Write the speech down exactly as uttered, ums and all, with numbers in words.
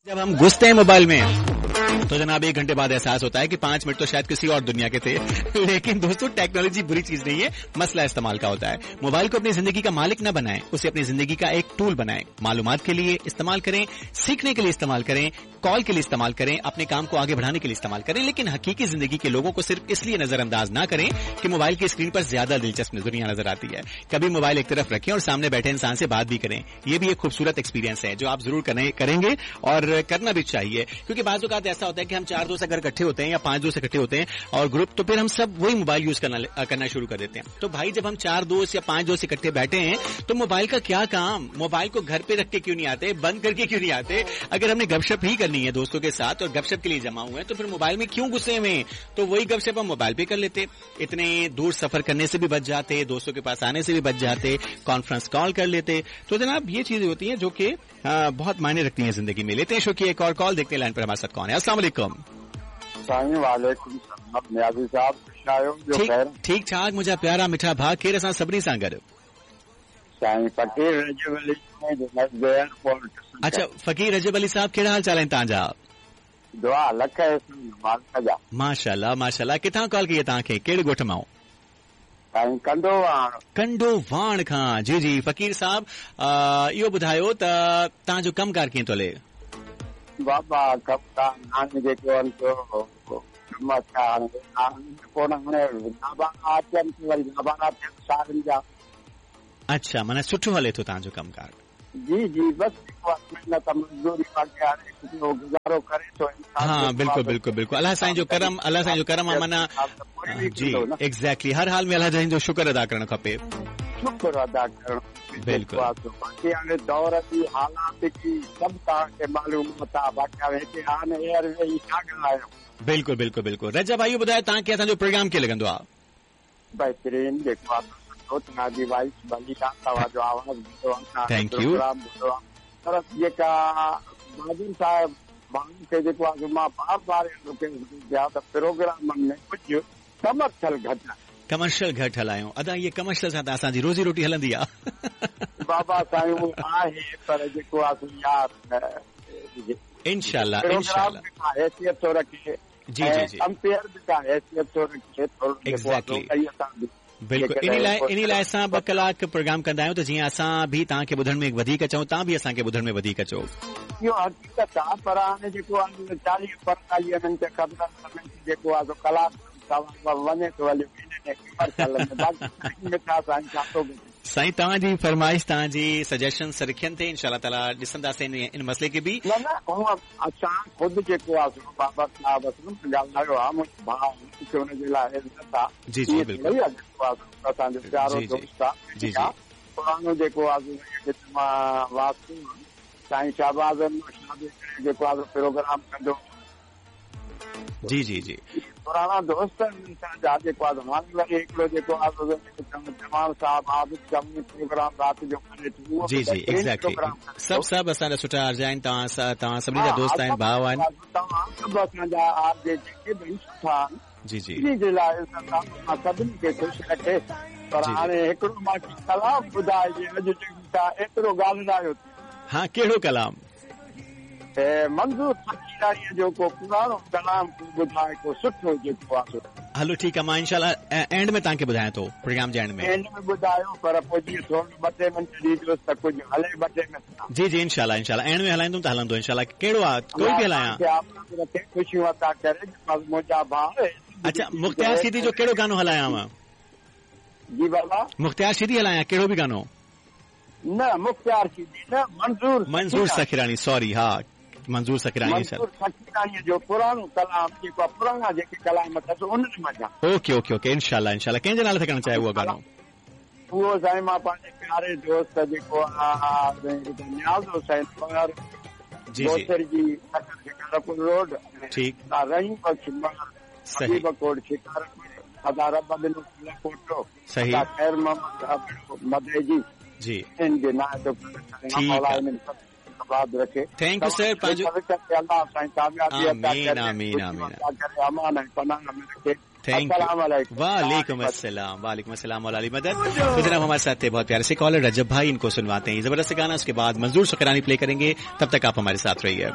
जब हम घुसते हैं मोबाइल में तो जनाब एक घंटे बाद एहसास होता है कि पांच मिनट तो शायद किसी और दुनिया के थे। लेकिन दोस्तों टेक्नोलॉजी बुरी चीज नहीं है, मसला इस्तेमाल का होता है। मोबाइल को अपनी जिंदगी का मालिक ना बनाएं, उसे अपनी जिंदगी का एक टूल बनाएं। मालूमात के लिए इस्तेमाल करें, सीखने के लिए इस्तेमाल करें, कॉल के लिए इस्तेमाल करें, अपने काम को आगे बढ़ाने के लिए इस्तेमाल करें, लेकिन हकीकी जिंदगी के लोगों को सिर्फ इसलिए नजरअंदाज ना करें कि मोबाइल की स्क्रीन पर ज्यादा दिलचस्प दुनिया नजर आती है। कभी मोबाइल एक तरफ रखें और सामने बैठे इंसान से बात भी करें। ये भी एक खूबसूरत एक्सपीरियंस है जो आप जरूर करेंगे और करना भी चाहिए, क्योंकि बाज़ औक़ात ऐसा होता है कि हम चार दोस्त अगर इकट्ठे होते हैं या पांच दोस्त इकट्ठे होते हैं और ग्रुप, तो फिर हम सब वही मोबाइल यूज करना करना शुरू कर देते हैं। तो भाई जब हम चार दोस्त या पांच दोस्त इकट्ठे बैठे हैं तो मोबाइल का क्या काम? मोबाइल को घर पे रख के क्यों नहीं आते, बंद करके क्यों नहीं आते? अगर हमने गपशप ही करनी है दोस्तों के साथ और गपशप के लिए जमा हुए हैं तो फिर मोबाइल में क्यों घुसे हुए हैं? तो वही गपशप हम मोबाइल पे कर लेते, इतने दूर सफर करने से भी बच जाते, दोस्तों के पास आने से भी बच जाते, कॉन्फ्रेंस कॉल कर लेते। तो जनाब ये चीजें होती हैं जो कि बहुत मायने रखती हैं जिंदगी में। लेते हैं शो की एक और कॉल, देखते हैं लाइन पर हमारे साथ कौन है। अस्सलाम वालेकुम। वालेकुम सलाम नियाज़ी साहब, ठीक ठीक ठाक मुझा प्यारा मिठा भाउ, केरु असां सभिनी सां गॾु? साईं फ़क़ीर रजब अली एयरपोर्ट। अच्छा फ़क़ीर रजब अली साहब, कहिड़ा हाल चाल आहिनि तव्हांजा? दुआ लख मालिक जा। माशाल्लाह माशाल्लाह। किथां कॉल कई आहे तव्हांखे, कहिड़े ॻोठ मां? साईं कंडोवाण। कंडोवाण खां। जी जी फ़क़ीर साहब, इहो ॿुधायो त तव्हांजो कमु कार कीअं थो हले? बाबा कमु कार हाणे जेको आहे सो कमु हाणे कोन, हाणे नाबाना अचनि वरी नाबाना थियनि सारनि जा। अच्छा, माना सुठो हले थो तव्हांजो कमु कार? जी जी, बस मेहनत मज़दूरी बाक़ी हाणे गुज़ारो करे थो इंसान। हाँ बिल्कुल बिल्कुल बिल्कुल, अल्लाह साईं जो करम, अल्लाह साईं जो करम आहे माना। जी एग्जैक्टली, हर हाल में अल्लाह साईं जो शुक्र अदा करणु खपे। शुक्र अदा करणु बिल्कुल। बाक़ी हाणे दौर जी हालात जी सभु तव्हांखे मालूम आहे, बाक़ी हाणे हिते हाणे एयरवे ई छा ॻाल्हायो। बिल्कुल बिल्कुल बिल्कुल। रजब भाई ॿुधायो तव्हांखे असांजो प्रोग्राम कीअं लॻंदो आहे? बहितरीन, जेको आहे तव्हांजी वॉइस भली आहे, तव्हांजो आवाज़ ॿुधो आहे, thank you. Programme ॿुधो आहे। पर जेका बहादुर साहिब माण्हुनि खे जेको आहे मां बार बार पिया त प्रोग्रामनि में कुझु कमर्शियल घटि आहे। कमर्शियल घटि हलायूं अदा, इहे कमर्शियल सां त असांजी रोज़ी रोटी हलंदी आहे। बाबा साईं उहो आहे, पर जेको आहे यार इंशाल्लाह इंशाल्लाह हैसियत थो रखे। जी जी जी, कंपेयर बि का हैसियत थो रखे थोरो। एग्जैक्टली बिल्कुल। इन लाइ इन लाइ असां ॿ कलाक प्रोग्राम कंदा आहियूं त जीअं असां बि तव्हांखे ॿुधण में वधीक अचूं, तव्हां बि असांखे ॿुधण में वधीक अचो। इहो हक़ीक़त आहे, पर हाणे जेको आहे चालीह पंजतालीह मिंट ख़बर जेको आहे कलाक वञे थो हलियो। साईं तव्हांजी फरमाइश, तव्हांजी सजेशन रखनि ते इंशाअल्लाह ताला ॾिसंदासीं इन मसइले खे बि। न न, हूअं असां ख़ुदि जेको आहे बाबा साहिब ॻाल्हायो आहे, मुंहिंजो भाउ मूंखे हुनजे लाइ इज़त आहे। जी जी बिल्कुलु, असांजो प्यारो दोस्त आहे। जी जी, पुराणो जेको आहे वास्तु साईं शाहबाज़ जेको आहे प्रोग्राम कंदो। जी जी जी, पुराणा दोस्त आहिनि असांजा, जेको आहे हाणे वरी हिकिड़ो जेको आहे जमाल साहिबु आबिद जमाल प्रोग्राम राति जो करे थो। जी जी एग्जैक्टली, सभु सभु असांजा सुठा आर्ज आहिनि, तव्हां तव्हां सभिनी जा दोस्त आहिनि, भाउ आहिनि। तव्हां सभु असांजा आर्ज जेके बि सुठा आहिनि। जी जी, ॿिन्ही जे लाइ सभिनी खे ख़ुशि रखे। पर हाणे हिकिड़ो मूंखे कलाम ॿुधाइजे, अॼु तव्हां एतिरो ॻाल्हायो। हा, कहिड़ो कलाम? मंज़ूर फकीराणीअ जो को पुराणो कलाम ॿुधाए, को सुठो जेको आहे। हलो ठीकु आहे, मां इंशाअल्लाह एंड में तव्हांखे ॿुधायां थो, प्रोग्राम जे एंड में। एंड में ॿुधायो, पर पोइ जीअं थोरो ॿ टे मिंट ॾिजोसि त कुझु हले ॿ टे मिंट। जी जी इंशाअल्लाह इंशाअल्लाह एंड में हलाईंदुमि त हलंदो इंशाअल्लाह। कहिड़ो आहे? कोई बि हलायां? ख़ुशियूं अता करे मुंहिंजा भाउ। अच्छा, मुख्तियार सीधी जो कहिड़ो गानो हलायां मां? जी बाबा, मुख्तियार सीधी हलायां कहिड़ो बि गानो? न मुख्तियार सीधी न, मंज़ूर मंज़ूर सखीराणी, सॉरी हा मंज़ूर सखीराणी। मंज़ूर सखीराणी जो पुराणो कलाम जेको पुराणा जेके कलाम अथसि उन्हनि मंझां। ओके ओके ओके इंशाअल्लाह इंशाअल्लाह। कंहिंजे नाले सां करणु चाहे उहो गानो? उहो साईं मां पंहिंजे प्यारे दोस्त जेको आहे नियाज़ हुसैन मगर जी जी जी शिकारपुर रोड, ठीक, रहीम बख़्श मगर सही, कोट शिकारपुर, अदा रब ॾिनो कोटो, सही, ख़ैर मोहम्मद मदे जी जी, इन जे नाले थो ठीक रखे। Thank you sir. पंहिंजो अल्लाह साईं कामयाबी अता आमीन करे, आमीन आमीन करे, अमान ऐं पनाह में रखे। Thank you. वालेकुम अस्सलाम, वालेकुम अस्सलाम मौला अली मदद। तो जनाब हमारे साथ थे बहुत प्यारे से कॉलर रजब भाई, इनको सुनवाते हैं जबरदस्त गाना, उसके बाद मंजूर सुकरानी प्ले करेंगे। तब तक आप हमारे साथ रहिए।